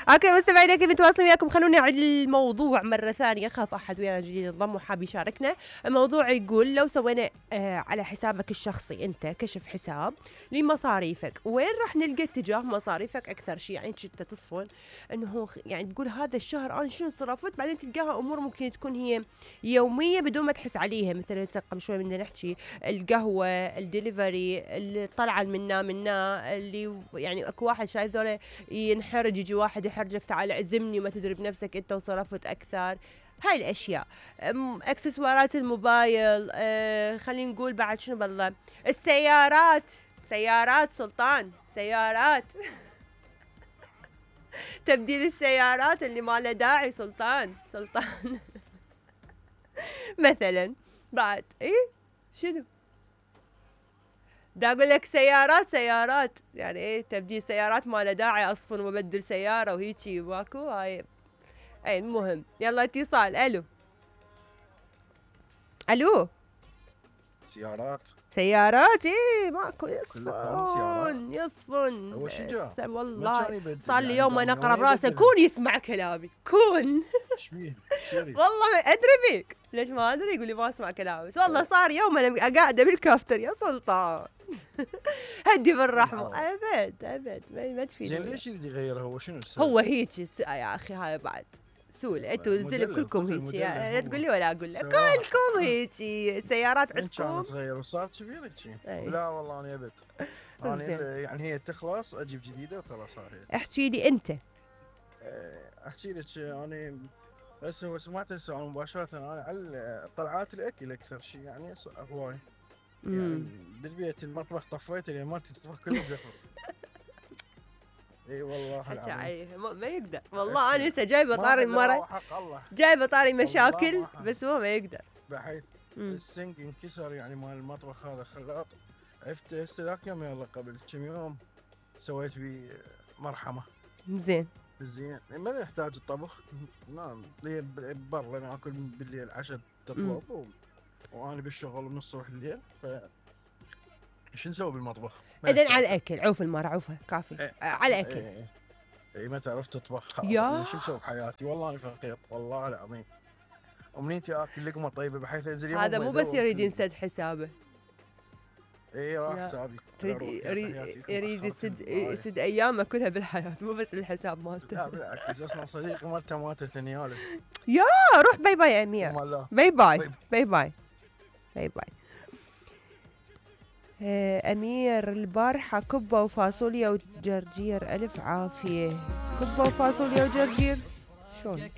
اوكي مستمعينا كيف متواصلين وياكم، خلونا نعيد الموضوع مرة ثانية، خاف احد ويانا جديد ينضم وحاب يشاركنا. الموضوع يقول لو سوينا على حسابك الشخصي انت كشف حساب لمصاريفك، وين راح نلقى اتجاه مصاريفك اكثر شيء؟ يعني انت تصفن انه يعني تقول هذا الشهر انا شنو صرفت، بعدين تلقاها امور ممكن تكون هي يومية بدون ما تحس عليها، مثلا قبل شوي بدنا نحكي القهوة، الدليفري، الطلعة منا اللي يعني اكو واحد شايف ذولا ينحرج، يجي واحد يحرجك تعال اعزمني وما تدري بنفسك انت وصرفت اكثر. هاي الاشياء، اكسسوارات الموبايل، خلينا نقول بعد شنو بالله، السيارات، سيارات سلطان، سيارات تبديل السيارات اللي ما له داعي سلطان مثلا بعد شنو دا اقول لك سيارات يعني تبديل سيارات ما له داعي اصفن وابدل سياره وهيجي ماكو هاي. المهم يلا اتصال. الو سيارات ماكو يصفن هو شو جا؟ والله صار لي يوم انا اقرب راسه كون يسمع كلامي كون والله ما ادري بيك ليش ما ادري، يقول لي ما اسمع كلامي، والله صار يوم انا قاعده بالكافتر يا سلطان هدي بالرحمه. ابد ما تفيد. زين ليش يريد يغيرها؟ هو شنو السبب؟ هو هيك يا اخي، هاي بعد سول انتوا الزلم كلكم هيك، لا تقول لي ولا اقول لك كلكم هيك سيارات عندكم. كان صغير وصار كبير هيك. لا والله انا ابد انا يعني هي تخلص اجيب جديده وخلاص. هاي احكي لي انت. احكي لك انا بس هو سمعت السؤال مباشره، انا على طلعات الاكل اكثر شيء يعني هواي يعني بالبيت المطبخ طفيته لان ما تطبخ كله زفر. اي والله العظيم ما يقدر والله. انا هسه جايبه طاري مره، جايبه طاري مشاكل بس هو ما يقدر، بحيث السنق انكسر يعني مال المطبخ هذا خلاط. عرفت هسه ذاك يوم يلا قبل كم يوم سويت بيه مرحمه. زين ما يحتاج الطبخ، نعم برا ناكل بالليل عشاء تطلب وانا بالشغل من الصبح الليل، ف شو نسوي بالمطبخ؟ اذن على الاكل عوف المره عوفها كافي. على الاكل اي ما تعرف تطبخ شو نسوي بحياتي؟ والله انا فقير والله العظيم. امنيتي اكل لقمه طيبه بحيث انزل يوم هذا مو بس يريد ينسد حسابه، اي راح حسابي يريد يسد ايامه كلها بالحياه، مو بس الحساب مالته. لا بالعكس اصلا صديقي مالته ماتت نياله. يا روح باي باي يا امير، باي باي باي باي باي باي. امير البارحه كبه وفاصوليا وجرجير، الف عافيه. كبه وفاصوليا وجرجير شلون